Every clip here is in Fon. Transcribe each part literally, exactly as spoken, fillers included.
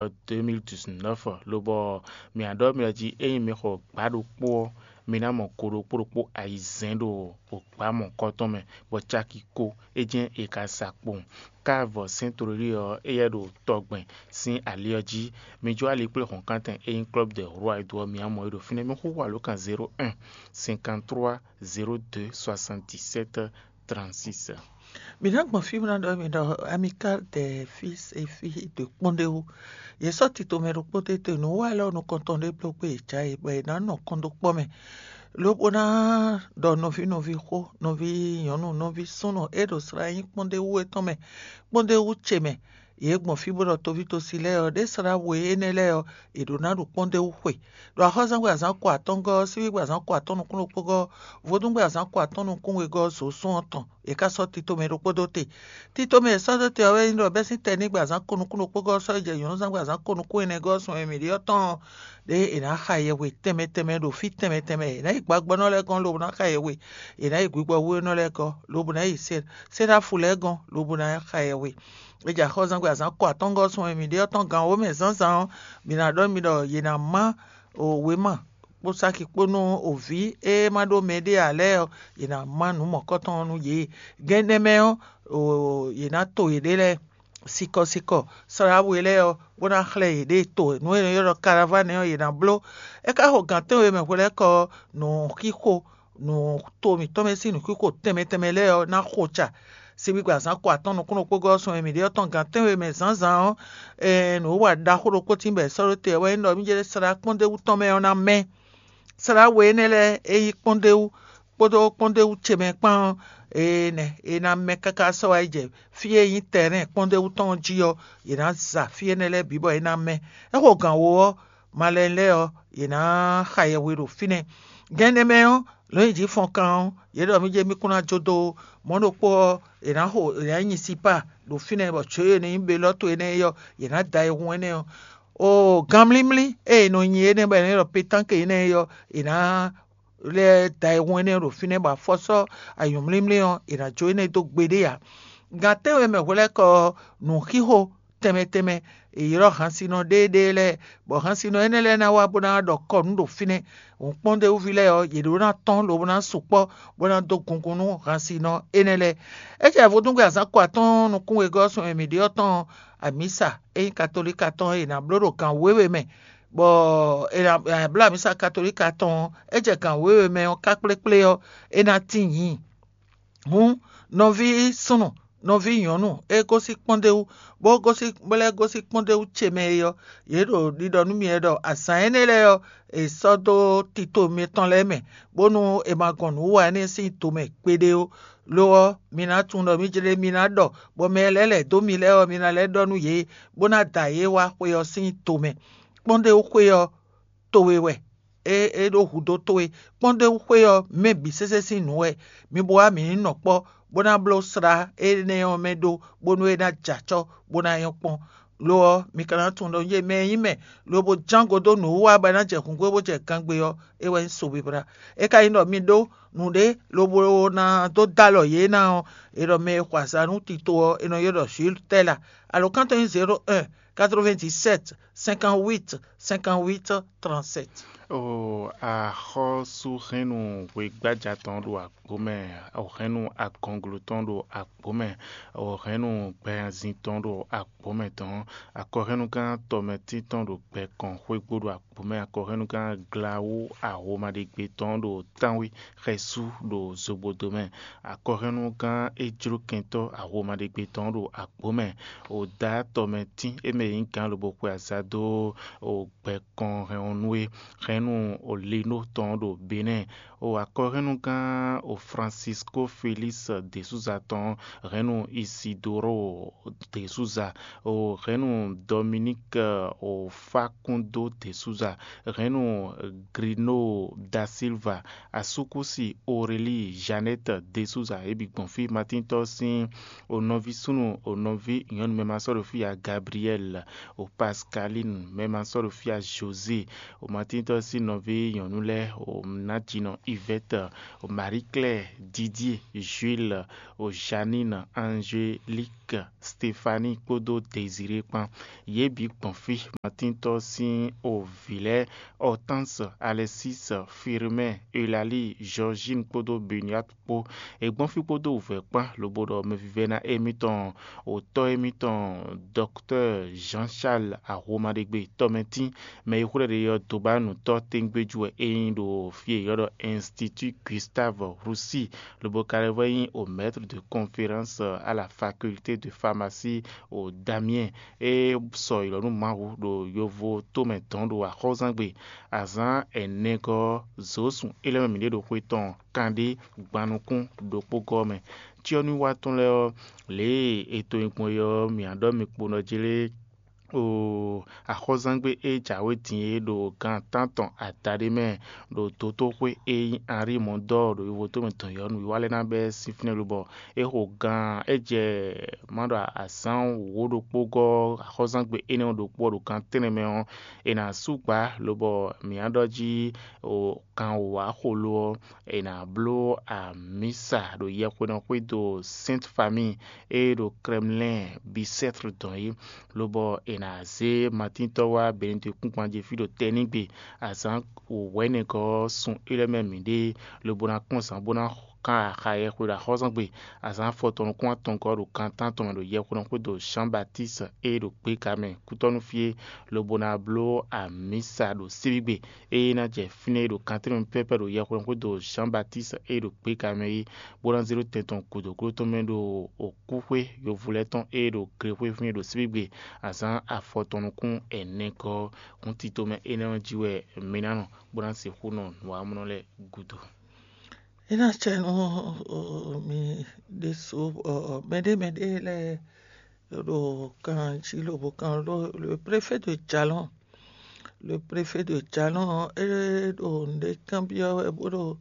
deux mille dix-neuf, lobɔ mǐ nǎ ɖɔ mì ɖɔ jí ényí mi xɔ gbǎ ɖokpó ɔ́, mi ná mɔ go ɖokpó ɖokpó ayizɛ́n ɖo gbǎ mɔ̌kɔtɔn mɛ, bɔ caki ko é jɛ́n è ka sa kpowun. Káàvɔ sɛ́n tlólí ɔ́, éyɛ́ ɖo tɔgbɛn sín ali ɔ́ jí. Mi jó ali kplé hɔ̌nkántɛn e nyí Club des Rois e do ɔ́, mi wá mɔ é ɖo fínɛ́. Mi xúxú alǒkan zéro un cinquante-trois zéro deux soixante-dix-sept trente-six. Mǐ ná gbɔn fí bó ná ɖɔ mi ɖɔ Amicale des Fils et Filles de Kpɔ́ndéwú. Yě sɔ́ tito mɛ ɖokpó tete nǔ wa lɛ́ɛ nukɔntɔn ɖé bló kpé yě cá yě, bɔ yě ná nɔ kɔn dó kpɔ́ mɛ, lobo ná ɖɔ nɔví nɔví xó, nɔví nyɔ̌nu, nɔví súnnu e ɖo slá nyí Kpɔ́ndéwú étɔn mɛ, Kpɔ́ndéwú ce mɛ. Yě gbɔn fí bó ɖɔ toví tosi lɛ́ɛ ɔ́, ɖě slá we énɛ́ lɛ́ɛ ɔ́, è ɖǒ ná ɖo Kpɔ́ndéwú xwe. Ɖo axɔ́zɛ́ngbe azǎn ko atɔ́ngɔ́ ɔ́, síbígbe azǎn ko atɔ́ nukún ɖokpógɔ́ ɔ́, vodúngbe azǎn ko atɔ́ nukún wegɔ́ ɔ́, zǒ sún ɔ́ tɔn, è ká sɔ́ tito mɛ ɖokpó dó te. Tito mɛ e è sɔ́ dó te ɔ́ wɛ nyí ɖɔ bɛ́sín tɛnígbe azǎn ko nukún ɖokpógɔ́ ɔ́ sɔ́ yi jɛ nyɔ̌nuzángbe azǎn ko nukún ɛnɛgɔ́ ɔ́ sun e mǐ ɖe ɔ́ tɔn ɔ́, ɖěe è nǎ xa yɛhwe tɛnmɛ tɛnmɛ ɖo fí tɛnmɛ tɛnmɛ. È nǎ yi gbagbɔ́nɔ lɛ́ɛ gɔ́n lobo ná xa yɛhwe, è nǎ yi gbigbɔhwínɔ lɛ́ɛ gɔ́n lobo ná yi Seɖáfu lɛ́ɛ gɔ́n lobo ná xa yɛhwe. É jɛ axɔ́zɛ́ngbe azǎn ko atɔ́ngɔ́ sun e mǐ ɖe ɔ́ tɔn gan wǒ mɛ zǎnzǎn ɔ́, mǐ ná ɖɔ nú mi ɖɔ yě ná má wěma kpó sáki kpó nú vǐ e ma ɖó mɛɖé ǎ lɛ́ɛ ɔ́, yě ná má nǔ mɔ̌kɔtɔn ɔ́ nú yě. Gɛ́n énɛ́ mɛ ɔ́, yě ná to yěɖée lɛ́ɛ sikɔsikɔ, slá we lɛ́ɛ ɔ́, bó ná xlɛ́ yěɖée to nǔ e è nɔ ylɔ́ ɖɔ karavánɛ ɔ́, yě ná bló. É ka xo gǎn tɛ́nwe mɛ hwelɛ́kɔ ɔ́, nǔxixo nǔ to mǐtɔn mɛ sín nǔxixo tɛnmɛ tɛnmɛ lɛ́ɛ ɔ́ ná xo ca. Sigbigbe azǎn ko atɔ́n nukúnnú kpógɔ́ ɔ́ sun e mǐ ɖe ɔ́ tɔn gǎn tɛ́nwe mɛ zǎnzǎn ɔ́, nǔ wa ɖaxó ɖokpó tín bɔ è sɔ́ ɖó te wɛ nyí ɖɔ mí jɛ slá kpɔ́ndéwú tɔn mɛ ɔ́ ná mɛ. Slá we énɛ́ lɛ́ɛ e nyí kpɔ́ndéwú kpódó kpɔ́ndéwú ce mɛ kpán ɔ́, énɛ́ é ná mɛ káká sɔ́ wá yi jɛ fí e nyí tɛrɛ́n kpɔ́ndéwú tɔn ɔ́ jí ɔ́, yě ná za fí énɛ́ lɛ́ɛ bǐ bɔ é ná mɛ. É xo gǎn wo ɔ́, malɛn lɛ́ɛ ɔ́, yě ná xa yɛhwe ɖo fínɛ́. Gɛ́n énɛ́ mɛ ɔ́, lɔ̌nyijǐ fɔnkan ɔ́, yě ɖɔ mí jɛ mí kún ná jó dó mɔ̌ ɖokpó ɔ́, è nǎ xo è nǎ nyi sipá ɖo fínɛ́ bɔ jǒ e nɔ nyí belɔ́ to énɛ́ é ɔ́, yě ná da ayihun énɛ́ ɔ́. Oo, ganmlímlí e è nɔ nyi énɛ́ bɔ è nɔ ylɔ́ pétánke énɛ́ é ɔ́, è nǎ lɛ́ da ayihun énɛ́ ɖo fínɛ́ bɔ afɔ sɔ́ anyǔmlímlí ɔ́, è nǎ jó énɛ́ dó gbeɖé ǎ. Gan tɛ́nwe mɛ hwelɛ́kɔ ɔ́, nǔxixo tɛnmɛ tɛnmɛ, è ylɔ́ hansinɔ ɖéeɖée lɛ́ɛ, bɔ hansinɔ énɛ́ lɛ́ɛ ná wá bó ná ɖɔ kɔ nǔ ɖo fínɛ́. Hǔnkpɔ́ndéwúví lɛ́ɛ ɔ́, yě ɖó ná tɔ́n lobo ná sukpɔ́ bó ná dó gungun nú hansinɔ énɛ́ lɛ́ɛ. É jɛ vodúngbe azǎn ko atɔ́ɔ́n nukún wegɔ́ sun e mǐ ɖe ɔ́ tɔn amǐsa e nyí katolíka tɔn e è nǎ bló ɖo gan wěwe mɛ, bɔ è nǎ bló amǐsa katolíka tɔn ɔ́, é jɛ gan wěwe mɛ ɔ́ ká kplékplé ɔ́, é ná tíin nyǐ. Hǔn, nɔví súnnu, nɔví nyɔ̌nu e gosín kpɔ́ndéwú, bó gosín bó lɛ́ gosín kpɔ́ndéwú ce mɛ é ɔ́, yě ɖo ɖiɖɔ nú mi wɛ ɖɔ azǎn énɛ́ lɛ́ɛ ɔ́, è sɔ́ dó tito mitɔn lɛ́ɛ mɛ, bónú è ma gɔn nǔ wa énɛ́ sín to mɛ gbeɖé ó. Lo ɔ́, mi ná tunwun ɖɔ mí jlé mi ná ɖɔ, bɔ mɛ lɛ́ɛ lɛ̌ dó mi lɛ́ɛ ɔ́, mi ná lɛ́ ɖɔ nú yě, bó ná da yě wá xwe ɔ́ sín to mɛ. Kpɔ́ndéwú xwe ɔ́, towe wɛ, é é ɖó hudó towe. Kpɔ́ndéwú xwe ɔ́, mɛ bǐ sésé sín nǔ wɛ. Mi bo wá mǐ ní nɔ kpɔ́, bó ná bló slá énɛ́ ɔ́ mɛ ɖó, bónú é ná jɛ acɔ́, bó ná nyɔ́ kpɔ́n. Lo ɔ́, mi ka ná tunwun ɖɔ yé mɛ e nyí mɛ, lobo jángo dó nǔwiwa bɔ é ná jɛ hǔngbó bó jɛ gangbe ɔ́, é wɛ nyí sobiblá. É ka nyí ɖɔ mi ɖó nǔɖé lobo ná dó dó alɔ yě ná ɔ́, è ɖɔ mɛ e xɔ azǎn nú tito ɔ́, è nɔ ylɔ́ ɖɔ Jules Tɛ́la. Alǒkan tɔn nyí zéro un quatre-vingt-dix-sept cinquante-huit cinquante-huit trente-sept. O axɔ́súhɛ́nnu hwegbája tɔn ɖo agbǒ mɛ, o hɛ́nnu agɔnglo tɔn ɖo agbǒ mɛ, o hɛ́nnu gbɛhanzin tɔn ɖo agbǒ mɛ tɔn, akɔhɛ́nnugán tɔmɛtín tɔn ɖo gbɛ kɔn xwégbó ɖo agbǒ mɛ, akɔhɛ́nnugán glawú ahomaɖegbe tɔn ɖo tánwí xɛsú ɖo zogbodo mɛ, akɔhɛ́nnugán ejlókɛntɔ́ ahomaɖegbe tɔn ɖo agbǒ mɛ, o dǎ tɔmɛtín e mɛ nyí gǎn lobo xwe azǎn dó o gbɛ kɔn hɛn ɔ́ nú é. Hɛn nú Lino tɔn ɖo Benɛ́ɛ, o akɔhɛnnugán o Francisco Félix de Souza tɔn, hɛn nú Isidoro de Souza, o hɛn nú Dominique o Facundo de Souza, hɛn nú Grino da Silva, asúkúsi Aurélie Jeannette de Souza, é bǐ gbɔn fí. Matíntɔ́ sín o nɔví súnnu o nɔví nyɔ̌nu mɛ ma sɔ́ ɖo fí ǎ, Gabriel, o Pascaline mɛ ma sɔ́ ɖo fí ǎ, José, o Matíntɔ́ sín nɔví nyɔ̌nu lɛ́ɛ, o Najinɔ Yvette, o Marie Claire, Didier, Jules, o Janine, Angélique, Stéphanie kpódó Désiré kpán. Yě bǐ gbɔn fí. Matíntɔ́ sín o vǐ lɛ́ɛ, Hortense, Alexis, Firmin, Eulalie, Georgine kpódó Benoît kpó. È gbɔn fí kpódó wǔvɛ́ kpán, lobo ɖɔ mɛvívɛ́ná émítɔn, òtɔ́ émítɔn, Dɔktɛ́ Jean Charles Ahomaɖegbe tɔmɛtín, mɛ e xwlɛ́ ɖe ɔ́, dobánutɔ́ tégbéjú wɛ é nyí ɖo fí e è ylɔ́ ɖɔ Institut Gustave Roussy, lobo ka lɛ́ vɔ nyí o maître de conférence à la faculté de pharmacie o Damien. É sɔ ylɔ̌ nú Mawu ɖo yovo tómɛ dɔn ɖo axɔ́zangbe azǎn ɛnɛgɔ́ ɔ́, zǒsun é lɛ́ mɛ mǐ ɖe ɖo xwe tɔn kanɖé gban nukún ɖokpó gɔ́ mɛ. Cyɔ́núwiwa tɔn lɛ́ɛ ɔ́, lě e è to nyi gbɔn é ɔ́, mǐ á ɖɔ mi kpo nɔ jlé o axɔ́zangbe e jǎwe din é ɖo gan tántɔn adaɖé mɛ ɖo dotóxwé e nyí Henri Mondor ɖo yovo tómɛ dɔn yɔ̌nu wiwa lɛ́ɛ ná bɛ́ sín fínɛ́ lobɔ é xo gan é jɛ má ɖɔ azǎn wǒ ɖokpó gɔ́ axɔ́zangbe énɛ́ ɔ́ ɖokpó ɔ́ ɖo gan tɛ́nnɛ mɛ ɔ́, è nǎ sú gbǎ lobɔ mǐ á ɖɔ jí o kan wǒ wá xo lo ɔ́, è nǎ bló amǐsa ɖo yɛhwenɔ́ xwédo Sainte Famille e ɖo Krɛmlɛ́n Bicêtre dɔn é, lobɔ è nǎ zé Matíntɔ́ wá Benedikúngban jí fí ɖo tɛnígbe azǎn wǒwɛ́nɛgɔ́ ɔ́ sun é lɛ́ɛ mɛ mǐɖée, lobo ná kpɔ́n zǎn bó ná kan axa yɛhwe ɖo axɔ́zɔ́ngbe azǎn afɔtɔn nukún atɔngɔ́ ɖo kan tántɔn mɛ ɖo yɛhwenɔ́ xwédo Jean Baptiste e ɖo gběga mɛ kútɔ́nú fí é, lobo ná bló amǐsa ɖo síbígbe e ná jɛ fínɛ́ é ɖo kantɛ́nú pɛ́pɛ́ ɖo yɛhweɖɔxwédo Jean Baptiste e ɖo gběga mɛ é, bó ná zé ɖó tɛn tɔn gǔdo gló tɔn mɛ ɖo okúxwé yovo lɛ́ɛ tɔn e ɖo glexwé fínɛ́ ɖo síbígbe azǎn afɔtɔn nukún ɛnɛgɔ́ ɔ́. Hǔn tito mɛ énɛ́ ɔ́ jí wɛ mi ná nɔ, bó ná sixú nɔ nǔwamlɔ lɛ́ɛ gúdo. É ná cɛ nú mi ɖésú mɛɖé mɛɖé lɛ́ɛ ɖo kan jí lobo kan ɖó le préfet de Jalɔn. Le préfet de Jalɔn é ɖo nǔɖé kanbyɔ́ wɛ bó ɖo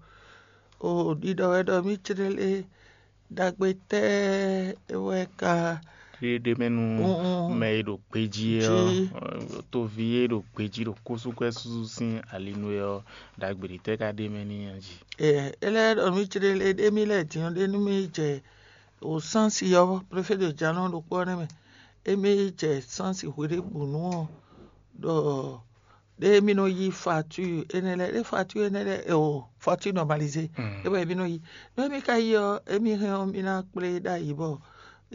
o ɖiɖɔ wɛ ɖɔ mí clé lé ɖagbe tɛ́ wɛ ka ɖé ɖé mɛ nú Mm, mm. mɛ e ɖo gbejí é Jí. ɔ́, toví e ɖo gbejí ɖo kósúkwɛ́ súsú sín ali nú é ɔ́, ɖagbe ɖě tɛ́ ka ɖ'é mɛ n'i a jí? Ɛ, é lɛ́ɛ ɖɔ mí clé lé ɖé mí lɛ́ɛ din ɔ́ ɖé nú mí jɛ o sánsi ɔ́, préfet de Jalɔn ɖokpó ɔ́ nɛ́ mɛ. Émí jɛ sánsi hweɖěbǔnu ɔ́ ɖɔ ɖé mí nɔ yí facture énɛ́ lɛ́ɛ, ɖé facture énɛ́ lɛ́ɛ o facture normalisée. Mm. É wɛ mí nɔ yí. Nú émí ka yí ɔ́, émí hɛn ɔ́, mí ná kplé ɖ'ayǐ bɔ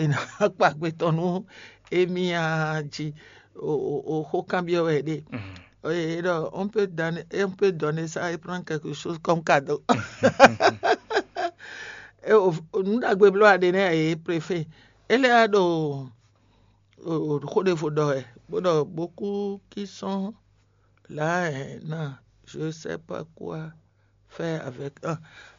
è nǎ kpa gbetɔ́ nú émí a jí o o o xó kanbyɔ́ wɛ ɖe. Mm. Et donc, on peut donner, et on peut donner ça et prendre quelque chose comme cadeau. Et au, au, nous avons besoin de donner à préfet. Et là, donc, au, au, au, au, au, beaucoup qui sont là, hein, non, je sais pas quoi faire avec. Ah.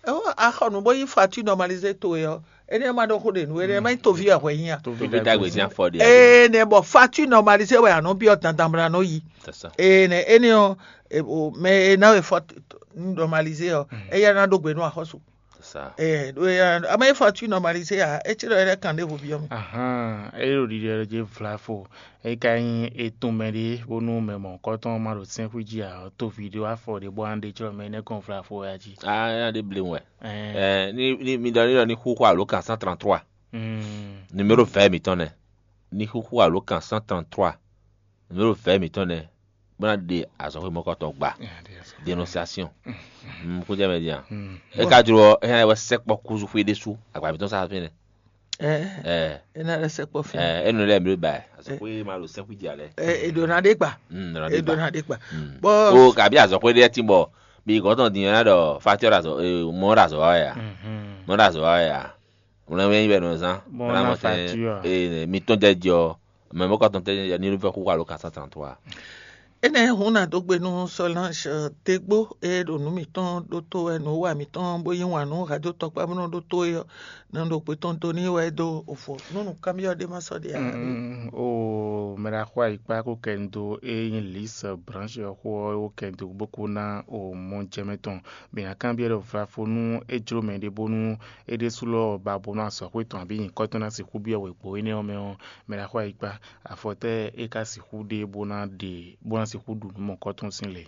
Oh, axɔ nǔ bó yí facture normalisée towe ɔ́, énɛ́ ma ɖo xó ɖe nǔ énɛ́ ma nyí toví wɛ hwɛ nyí a. Toví Toví dagbe dagbe sin sin. Afɔ ɖe. Ene bɔ facture normalisée wɛ anɔ biɔ dandan bla nɔ yi. C'est ça. Ene ene ɔ e- o mɛ e na wɛ facture normalisée ɔ, eya na ɖo gbe nú axɔsu. C'est ça. Ɛ ɖo eya ama e facture normalisée a, etsi ɖɔ yɛ kan ɖe vo biɔ mi. Ahan, e ɖo ɖiɖi ɖe dzi vlafo. E ka nyí etɔn mɛ ɖé bónú mɛ mɔ̌hunkɔtɔn ma ɖo sɛ́nxwí jí ǎ, ɔ́, toví ɖé wá fɔ ɖě bɔ an ɖe jlɔ́ mɛ énɛ́ gɔ́n vlafo wɛ a jí. Ah, ya ɖe blewu wɛ. Ɛɛ, Eh, ni ni mi ɖɔ ni ɖɔ ni xúxú alo kan cent trente-trois. Mm. Numéro vɛ mǐtɔn nɛ. Ni xúxú alo kan cent trente-trois. Numéro vɛ mǐtɔn nɛ. Bó ná ɖe azɔ̌xwé mɔkɔtɔn gba. Yeah, there's a- Dénonciation. Mm, kó jẹ́ mɛ din a. Mm. E ka jló ɔ́, e hɛn wɛ sɛkpɔ kúzu xwé ɖésú agba mǐtɔn sa fínɛ́. Ɛɛ, Ɛɛ, ena ɖe sɛkpɔ fínɛ́. Ɛɛ, enu lɛ mi ɖo ba yɛ. Azɔxwé ma ɖo sɛkpɔ jí alɛ. Ɛ, eɖo na ɖe gba. Mm, nɔ ɖe Eɖo gba. Na ɖe gba. Mm. Bɔ O kabi azɔxwé ɖe ti bɔ mi gɔtɔn din na ɖɔ fatɔ ɖe azɔ, eh, mɔ ɖe azɔ wa ya. Mhm. Mɔ ɖe azɔ wa ya. Wlɛn wɛ yi bɛ nɔ zan. Mɔ Wlɛn na mɔ tɛ, facture. Eh, mi tɔn jɛ jɔ. Mɛ mɔ kɔtɔn tɛ jɛ ni vɛ xu alo kasa tan to a. Enɛ hun na dó gbe nú Solange Degbo e ɖo nǔ mǐtɔn ɖótó wɛ nǔ wa mǐtɔn bó yí wǎn nú Hado tɔkpá bó nɔ ɖótó é ɔ́, nɔ ɖo gbetɔn do n'i wɛ é dó ofo nú nǔkanbyɔ́ ɖé ma sɔ́ ɖe ǎ. Mm, o mɛ ɖaxó ayikpa ko kɛ n dó e nyí Lise Branche ɔ́ xó ɔ́, é wó kɛ n dó bó kó ná o mɔ jɛ mɛ tɔn. Mǐ ná kanbyɔ́ ɖɔ vlafo nú é jló mɛ ɖé bónú é ɖésú lɔ ba bó nú azɔ̌xwé tɔn abǐ nyǐkɔ tɔn ná sixú byɔ́ wěgbó énɛ́ ɔ́ mɛ ɔ́, mɛ ɖaxó ayikpa, afɔ tɛ́ é ka sixú ɖe bó ná ɖe bó ná sixú ɖu nǔ mɔ̌kɔ́tɔn sín le?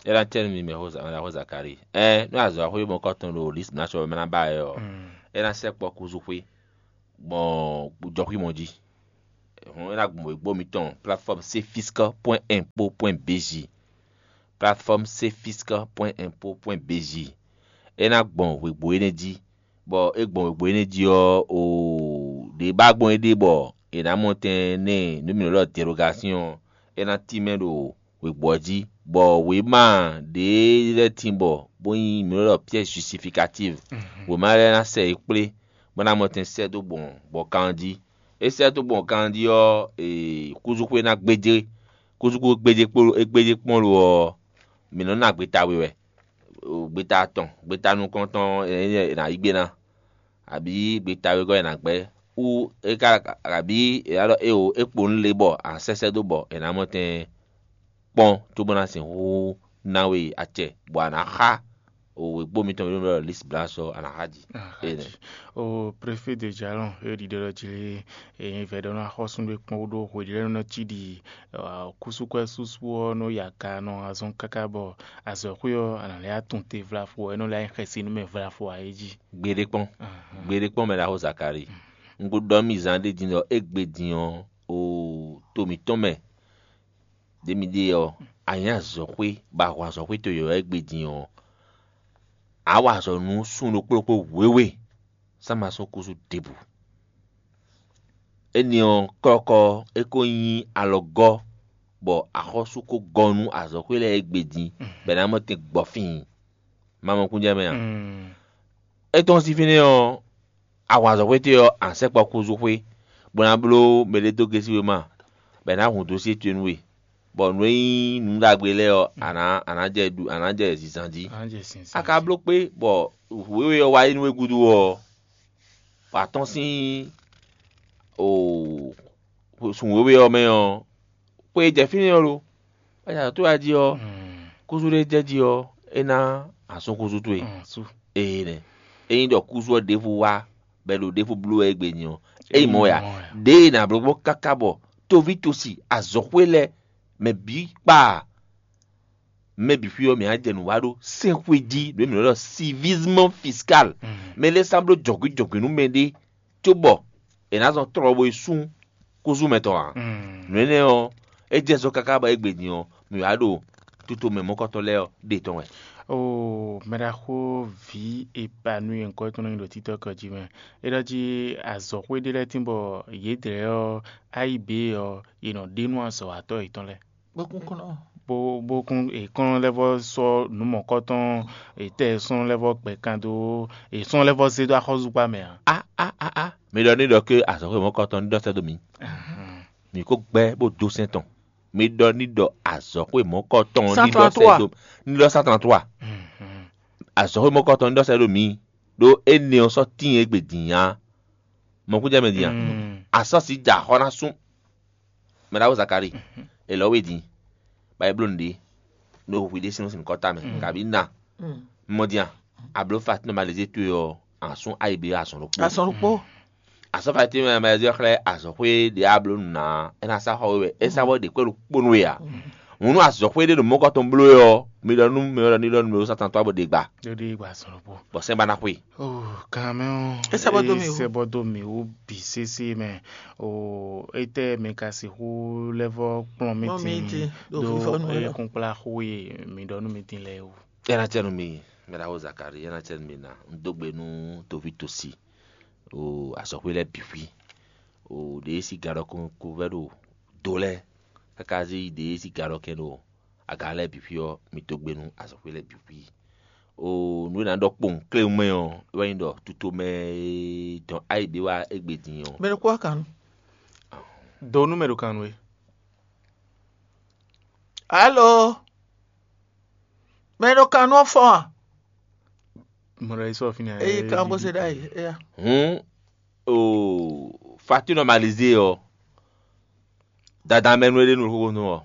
É ná cɛ nú mi mɛ xó Za- mɛ xó Zakalíi. Ɛn nú azɔ̌ xwé mɔkɔtɔn ɖo Lisbona sɔ mɛ ná ba wɛ ɔ́, é ná sɛkpɔ́ kúzú xwé gbɔn jɔxwímɔ jí. Hɔn é ná gbɔn wěgbó mitɔn plateforme cfisc point impo point bj. Plateforme cfisc point impo point bj. É ná gbɔn wěgbó énɛ́ jí, bɔ é gbɔn wěgbó énɛ́ jí ɔ́, o ɖě ba gbɔn é ɖe bɔ è nǎ mɔ tɛn nɛ nǔ mǐ nɔ ɖɔ dérogation ɔ́, é ná tínmɛ ɖo wěgbó ɔ́ jí, bɔ wěma ɖě lɛ́ɛ tín bɔ bó nyí mǐ nɔ ɖɔ pièce justificative. Wěma lɛ́ɛ ná sɛ yě kplé bó ná mɔ tɛn sɛ́ dó gbɔn gbɔn kan ɔ́ jí. É sɛ́ dó gbɔn kan ɔ́ jí ɔ́, ee kúzúxwé ná gbéjé kúzúxwé gbéjé kpó é gbéjé kpɔ́n lo ɔ́, mǐ nɔ́ ná gbeta we wɛ. Gbeta atɔn, gbeta nukɔntɔn ɔ́, è nǎ yí gbe ná, abǐ gbeta wegɔ́ è nǎ gbɛ́, wú é ka abǐ è nǎ ɖɔ éeǒ, é kpo nú le bɔ a sɛ́sɛ́ dó bɔ è nǎ mɔ tɛn kpɔ́n cóbó ná sixú ná we acɛ, bɔ a nǎ xá wěgbó mitɔn e nɔ ɖɔ Lisbla sɔ a nǎ xá jǐ. Énɛ́. O préfet de jalɔn e ɖiɖe ɖɔ jí lé, e nyí vɛ̌ ɖɔ nú axɔ́sú ɖé kpɔ́n ɖó hweɖělɛ́nu nɔ cí ɖi kúsúkwɛ́ súsú ɔ́ nɔ yi aga nɔ azɔn káká bɔ azɔ̌xwé ɔ́ a nǎ lɛ́ atún te vlafo ɔ́, é nɔ lɛ́ nyí xɛsi nú mɛ vlafo ǎ é jí. Gbeɖé kpɔ́n, gbeɖé kpɔ́n mɛ ɖaxó Zakalíi. Un ko ɖɔ nú mi zán ɖé din ɖɔ égbé din ɔ́, o to mǐtɔn mɛ ɖě mi ɖe ɔ́, a nyǐ azɔ̌xwé bɔ a hun azɔ̌xwé towe ɔ́ égbé din ɔ́, a wa azɔ̌ nú sun ɖokpó ɖokpó wěwe, sán ma sɔ́ kúsú ɖěbǔ. Énɛ́ ɔ́, kɔ́kɔ́ é ko nyí alɔgɔ́, bɔ axɔ́sú ko gɔ́ nú azɔ̌xwé lɛ́ɛ égbé din, bɔ è nǎ mɔ tɛn gbɔ fíin. Ma mɔ kúnjɛ mɛ a? É tɔ́n sín fínɛ́ ɔ́, a hun azɔ̌xwé towe ɔ́, a nǎ sɛkpɔ́ kúzú xwé, bó ná bló mɛɖé dó gésí wéma, bɔ è nǎ hun dǒsyé towe nú we, bɔ nǔ e nyí nǔ ɖagbe lɛ́ɛ ɔ́, a nǎ a nǎ jɛ ɖu a nǎ jɛ zǐnzán jí. A ka bló kpé bɔ wěwe ɔ́ wá yi nú we gúdo ɔ́, bɔ a tɔ́n sín sun wěwe ɔ́ mɛ ɔ́, xwe e jɛ fínɛ́ ɔ́ lo? Bɔ a jɛ azɔ̌ towe jí ɔ́, kúzú ɖé jɛ jí ɔ́, é ná a sún kúzú towe. Ee nɛ. Ényí ɖɔ kúzú ɔ́ ɖěvo wá bɔ è ɖo ɖěvo bló wɛ égbé din ɔ́, é nyí mɔ̌ wɛ a? Ɖěe è nǎ bló gbɔn káká bɔ toví tosi azɔ̌xwé lɛ́ɛ mɛ bǐ kpa mɛ bǐ xwí ɔ́ mǐ á jɛ nǔ wa ɖó sɛ́nxwé jí ɖě mǐ nɔ ɖɔ civisme fiscal. Mɛ lɛ́ɛ sán bló jɔ̌gwǐ jɔ̌gwǐ nú mɛɖé cóbɔ è nǎ zɔn tlɔ bo yi sú kúzú mɛ tɔn ǎ. Nǔ énɛ́ ɔ́, é jɛ zɔ káká bɔ égbé din ɔ́, mǐ wá ɖo tutomɛ mɔ̌kɔtɔn lɛ́ɛ ɔ́ ɖe tɔn wɛ. Oo, mɛɖaxó vǐ Epanui nyǐkɔ tɔn nɔ nyi ɖo títɔ́ kɔ jí mɛ. É ɖɔ jí azɔ̌xwé ɖé lɛ́ɛ tín bɔ yědɛɛ ɔ́, ayíbě ɔ́, yě nɔ ɖe nú azɔ̌watɔ́ yětɔn lɛ́ɛ. Bó kún kɔn ɔ́. Bó bó kún èkɔ́n lɛ́ vɔ sɔ́ nǔ mɔ̌kɔtɔn ètɛ́ sɔ́n lɛ́ vɔ gbɛ kan dó èsɔ́n lɛ́ vɔ zé dó axɔ́zúgbá mɛ ǎ. A a a a mi ɖɔ ní ɖɔ ké azɔ̌xwé mɔ̌kɔtɔn ní ɖɔ sɛ́ dó mǐ. Mǐ kó gbɛ́ bó dó sɛ́n tɔn. Mi ɖɔ ní ɖɔ azɔ̌xwé mɔ̌kɔtɔn ní ɖɔ sɛ́ dó ní ɖɔ sátɔn tlɔ́ a? Azɔ̌xwé mɔ̌kɔtɔn ní ɖɔ sɛ́ dó mǐ. Ɖó énɛ́ ɔ́ sɔ́ tíin égbé din ǎ. Mɔ̌kúnjɛmɛ din a? Asɔ́si ja xɔ ná sún. Mɛ ɖaxó Zakalíi, è lɔ̌ we din, bɔ é bló nǔɖé, ɖo hwi ɖésú sín nukɔ́ta mɛ, kabǐ na. Mɔ din a? A bló fatinɔ malezé towe ɔ́, a sún ayi bló azɔn ɖokpó. Azɔn ɖokpó. Asɔ́ fatinɔ malezé ɔ́ xlɛ́ azɔ̌xwé ɖě a bló nǔ ná, é ná sá xɔ we wɛ, é sá bɔ ɖě kpɛ́ ɖokpó nú we ǎ. Hǔn nú azɔ̌xwé ɖé ɖo mɔ̌kɔ tɔn bló we ɔ́, mi ɖɔ nú mɛ ɔ́ ɖɔ ní ɖɔ nú mɛ ɖó Satan tó wá bɔ ɖě gba. Ɖó ɖě gba azɔn ɖokpó. Bɔ sɛ́n ba ná xwe. Kanmɛ ɔ́, é sɛ bɔ dó mì wú. Sɛ bɔ dó mì wú bǐ sésé mɛ. O, étɛ́ mi ka sixú lɛ́ vɔ kplɔ́n mì Kplɔ́n mì dín dín ɖo ɖó fífɔ́ nú we é lɔ. Kúnkplá xó e mi ɖɔ nú mi dín lɛ́ɛ wú. Yɛ́ ná cɛ nú mi, mɛ ɖaxó Zakari, yɛ́ ná cɛ nú mi ná. Un dó gbe nú toví tosi, o azɔ̌xwé lɛ́ɛ bǐ xwí. O ɖě e sí gadɔkun ko vɛ́ ɖo do lɛ́ɛ, káká zé yí ɖě e sí gadɔkɛn ɖo aga lɛ́ɛ bǐ xwí ɔ́, mi dó gbe nú azɔ̌xwé lɛ́ɛ bǐ xwí. O nǔ e ná ɖɔ kpowun kléwún mɛ ɔ́, é wɛ nyí ɖɔ tutomɛ e dɔn ayǐ ɖé wá égbé din ɔ́. Mɛ ɖokpó wá kan nú. Do nú mɛ ɖo kan nú we. Alo. Mɛ ɖo kan nú ɔ́ fɔ́n a? Mɔ ɖo yi sɔ fínɛ́. Eye kan bó se ɖ'ayǐ. Eya. Hǔn o fatinɔ malize ɔ́, dadamɛnu e ɖe nú xóxó nú ɔ́,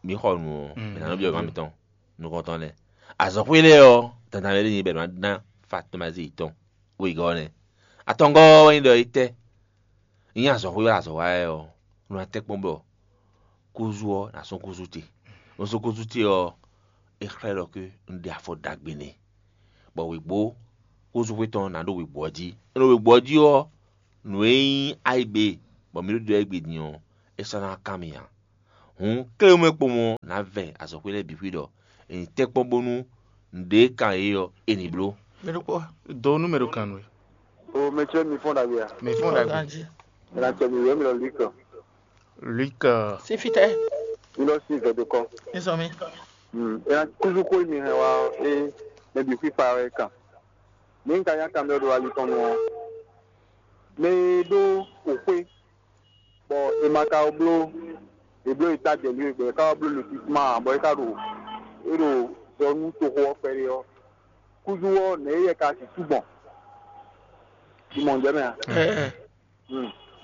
mǐ xɔ nǔ ɔ́, mǐ ná nɔ byɔ́ mǐ mitɔn nukɔntɔn lɛ́ɛ. Azɔ̌xwé lɛ́ɛ ɔ́, dadamɛ ɖé nyí bɔ è nɔ ná fatinɔ malize yětɔn wegɔ́ ɔ́ nɛ́. Atɔngɔ́ ɔ́ wɛ nyí ɖɔ é tɛ́. Nyí azɔ̌xwé wɛ azɔ̌ wa wɛ ɔ́, un ná tɛ́ kpɔ́n bɔ kúzú ɔ́ ná sɔ́ kúzú ce. Un sɔ́ kúzú ce ɔ́, é xlɛ́ ɖɔ ké un ɖe afɔ ɖagbe n'i, bɔ wěgbó xózúxwé tɔn ná ɖo wěgbó ɔ́ jí. É ɖo wěgbó ɔ́ jí ɔ́, nǔ e nyí ayigbe bɔ mǐ ɖo ɖɔ égbé din ɔ́, é sɔ́ ná kan mì ǎ. Hǔn, kléwúmɛ kpowun ɔ́ ná vɛ azɔ̌xwé lɛ́ɛ bǐ xwí ɖɔ è nǐ tɛ́nkpɔ́n bónú nǔɖé e kan yě ɔ́, è nǐ bló. Mɛ ɖokpó wá. Do nú mɛ ɖo kan nú we. O mɛ ce mi fɔ́n ɖagbe a? Mɛ fɔ́n ɖagbe. Ganji. È nǎ tɛ mi wěwé mi lɔ Luc. Luc. Sífítɛ́. Mi lɔ sí vɛ̌ dó kɔ. Ní sɔ mí. È nǎ kúzú xó e mi hɛn wá ɔ́, é mɛ bǐ xwíxwa wɛ é kan. Ní un ka nyá kan mɛ ɖo ali tɔn nu ɔ́, mɛ e ɖó wǒxwé bɔ è ma ka bló è bló è ta jɛ nǔ e gbɔn è ka wá bló lotissement ǎ, bɔ é ka ɖo é ɖo zɔ nú toxo ɔ́ kpɛɖé ɔ́, kúzú ɔ́ nɛ̌ é yɛ ka sixú gbɔn? Simɔn jɛ mɛ a? Ɛ ɛ.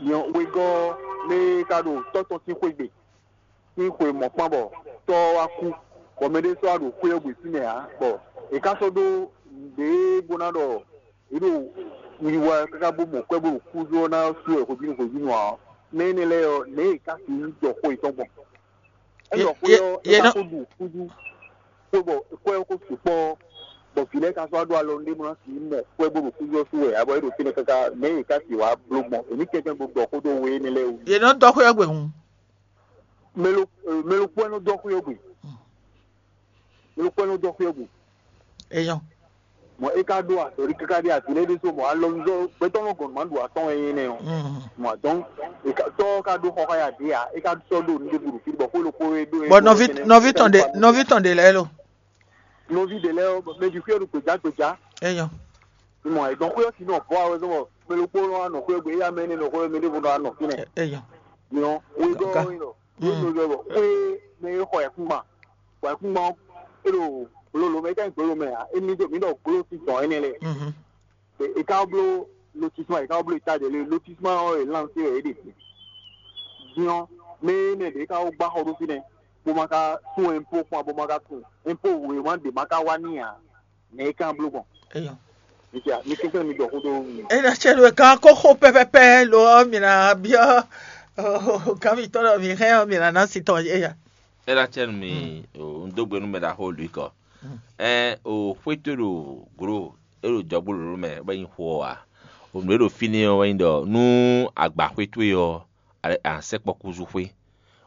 Nyɔ wegɔ́ ɔ́, mɛ e ka ɖo tɔ́ tɔn sín xwé gbe sín xwe mɔ̌kpán bɔ tɔ́ ɔ́ wá kú, bɔ mɛ ɖé sɔ́ wá ɖo xwé ɔ́ gbe fínɛ́ ǎ, bɔ è ka sɔ́ ɖó nǔɖé bó ná ɖɔ yě ɖo wiwa káká bó mɔ kwɛ́ bó ɖo kúzú ɔ́ ná sú wɛ hwebǐnu hwebǐnu ǎ ɔ́, mɛ énɛ́ lɛ́ɛ ɔ́, nɛ̌ yě ká sixú ɖɔ xó yětɔn gbɔn? É Ye- ɖɔ xó ye- ɔ́, é ye ká nɔ- kó ɖu kúzú xó bɔ kwɛ́ ɔ́ kó sukpɔ́ ɔ́, bɔ vǐ lɛ́ɛ ka sɔ́ wá ɖó alɔ nú ɖé bó ná sixú mɔ kwɛ́ bó ɖo kúzú ɔ́ sú wɛ ǎ, bɔ é ɖo fínɛ́ káká, nɛ̌ yě ká sixú wá bló gbɔn? È ní kɛnklɛ́n bó ɖɔ xó dó we énɛ́ lɛ́ɛ wú. Yě nɔ dɔ́ xwé ɔ́ gbe hǔn. Mɛ lo mɛ lo kpɔ́ nɔ dɔ́ xwé ɔ́ gbe. Mɛ lo kpɔ́ nɔ dɔ́ xwé ɔ́ gbe. Eyɔn. Mɔ é ka ɖó azɔ̌ ɖi káká ɖi azǐ lɛ́ɛ ɖésú mɔ alɔnuzɔ́ gbɛtɔ́ nɔ gɔn nǔ ma ɖu atɔ́ɔ́n wɛ nyí nɛ́ ɔ́. Mɔ adɔn tɔ́ ka ɖó xɔxɔ ya ɖě ǎ, é ka sɔ́ ɖo nǔɖé ɖo fí bɔ xó ɖokpó e ɖó é Bɔ ɖó nɔví énɛ́, nɔví é ka tɔn ɖó ɖe xɔ nɔví tɔn ɖe lɛ́ɛ lo. Nɔví ɖě lɛ́ɛ ɔ́, mɛ bǐ xwé ɖo gbějá gbějá. Eyɔn. Mɔ ẹ̀gbọ́n xwé ɔ́ sì nɔ bɔ awɛ zɔn bɔ mɛ ɖokpó nɔ wá nɔ xwé gbe, éyá mɛ énɛ́ nɔ xwé mɛ ɖěvo nɔ wá nɔ fínɛ́. Eyɔn. Nyɔ wegɔ́ Nka. Ɔ́ nɔ ɖɔ bɔ xwé mɛ e xɔ ẹ̀kúngban, bɔ ẹ̀kúngban ɔ́, é ɖo gbolo lo mɛ, é ka nyí gbolo mɛ ǎ, é ní ɖo mǐ ɖɔ gbolo sín dɔn énɛ́ lɛ́ɛ. Mhm. È ka bló lotissement, è ka bló état de lieu, lotissement ɔ́ è lancé wɛ é ɖe. Din ɔ́, mɛ énɛ́ ɖě ka wó gbá xɔ ɖó fínɛ́, bó ma ka sú impôt kpɔ́n, bó ma ka tunwun impôt wěma ɖě ma ka wá n'i ǎ, nɛ̌ é ka bló gbɔn? Eyɔn. Mi kɛnklɛ́n mi ɖɔ xó dó mi. Eya cɛ ɖo gán kó xó pɛpɛpɛ lo ɔ́, mi ná byɔ́ gán mitɔn ɖɔ mi hɛn ɔ́, mi ná ná si tɔn éya. É ná cɛ nú mi, un dó gbe nú mɛ ɖaxó Luc ɔ́. Ɛn o xwé towe ɖo glo, é ɖo jɔgbó lǒló mɛ bɔ é nyí xó ɔ́ ǎ. O nǔ e ɖo fínɛ́ ɔ́ wɛ nyí ɖɔ nú agba xwé towe ɔ́, a sɛkpɔ́ kúzú xwé,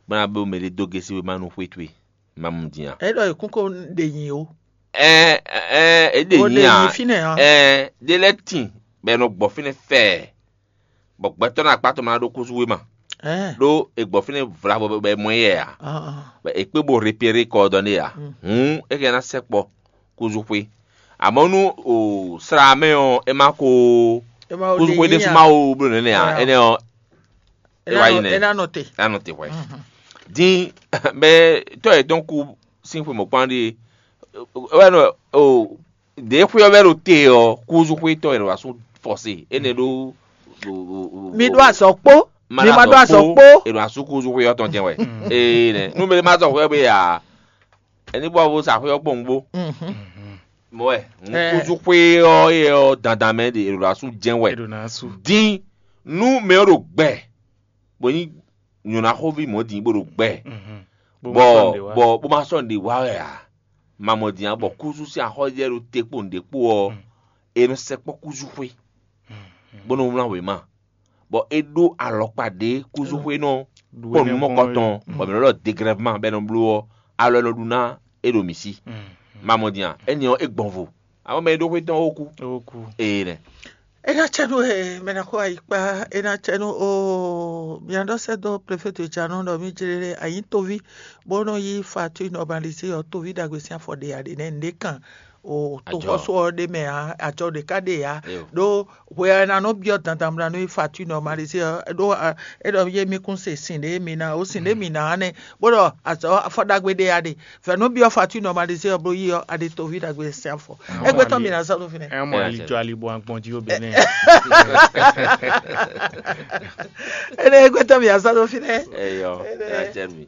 bó ná bló mɛɖé dó gésí wéma nú xwé towe. Ma mɔ din a? É ɖɔ è kún kó ɖe nyi o. Ɛn ɛn é ɖe Bó nyi ɖe a? Nyi fínɛ́ ɔ́. Ɛn ɖé lɛ́ɛ tin bɔ è nɔ gbɔ fínɛ́ fɛɛ, bɔ gbɛtɔ́ ná akpá tɔn ma ɖó kúzú wéma. Ɛn. Ɖó è gbɔ fínɛ́ vlavo bɔ è mɔ yɛ a? Ɔn, ɔn. Bɔ è kpé bo repéré kɔ ɔ́ dɔn ɖé a? Hǔn é hɛn ná sɛkpɔ kúzú xwé. Amɔ̌ nú o slá mɛ ɔ́, é má ko É má kúzú xwé ɖésú má wo bló nɛnɛ a? Ɛn. Énɛ́ ɔ́, é wá yi nɛ. É ná nɔ te. É ná nɔ te hwɛ. Din bɛ tɔ́ yětɔn kú sín xwe mɔ̌kpán ɖíe wɛ nɔ o ɖě xwé ɔ́ wɛ ɖo te ɔ́, kúzú xwé tɔn yě ɖo asú fɔse énɛ́ ɖó. Mi ɖó azɔ̌ kpó. Mi ma ɖó azɔ̌ kpó. È ɖo asú kúzú xwé ɔ́ tɔn jɛn wɛ. Ee nɛ nú mi ma zɔ xwé ɔ́ bɛ ya, ɛni bɔ vo sa xwé ɔ́ kpɔn gbó. Mɔ wɛ kúzú xwé ɔ́ yɛ ɔ́ dandan mɛ ɖe è ɖo asú jɛn wɛ. È ɖo ná asú. Dín nú mɛ ɔ́ ɖo gbɛ bó nyí nyɔ̌náxóví mɔ̌ din bó ɖo gbɛ, bɔ bɔ bó ma sɔ́ nǔɖé wa wɛ ǎ. Mamɔ̌ din ǎ, bɔ kúzú sín axɔ́ jɛ ɖo te kpó nǔɖé kpó ɔ́, è nɔ sɛkpɔ́ kúzú xwé, bó nɔ wlán wěma, bɔ é ɖó alɔkpa ɖě kúzú xwé nɔ kpɔ́ nǔ mɔkɔtɔn, bɔ mǐ nɔ ɖɔ degrèvement bɔ é nɔ bló ɔ́, alɔ e nɔ ɖu ná é ɖo mǐ sí. Mamɔ̌ din ǎ, énɛ́ ɔ́ é gbɔn vo. Amɔ̌ mɛ e ɖó xwé tɔn ɔ́, ó kú. Ó kú. Ee nɛ. É ná cɛ nú e mɛ ná xo ayikpa, é ná cɛ nú o mia ɖɔ sɛ dó préfet Janon ɖɔ mí jlé ɖé anyi toví bó nɔ yí facture normalisé ɔ toví ɖagbe sín afɔ ɖe aɖe nɛ nɖé kan o toxɔsó ɔ ɖe mɛ ǎ, ajɔ ɖe ká ɖe ǎ. Ɖó hwe ɔ́ ná nɔ byɔ́ dandan mla nú yí facture normalisé ɔ ɖó é ɖɔ yé mí kún se sin ɖé mi ná o sin ɖé mi ná nɛ bó ɖɔ azɔ afɔ ɖagbe ɖe aɖe. Fɛ̌nú byɔ́ facture normalisé ɔ́ bó yí ɔ́, a ɖi toví ɖagbe sín afɔ. Égbé tɔn mi ná zɔ́ ɖo fínɛ́. Ɛ mɔ ali jɔ ali bɔ agbɔn jí ó bɛ nɛ. Énɛ́ égbé tɔn mi ná zɔ́ ɖo fínɛ́. Eyɔ, ɛ jɛ mi.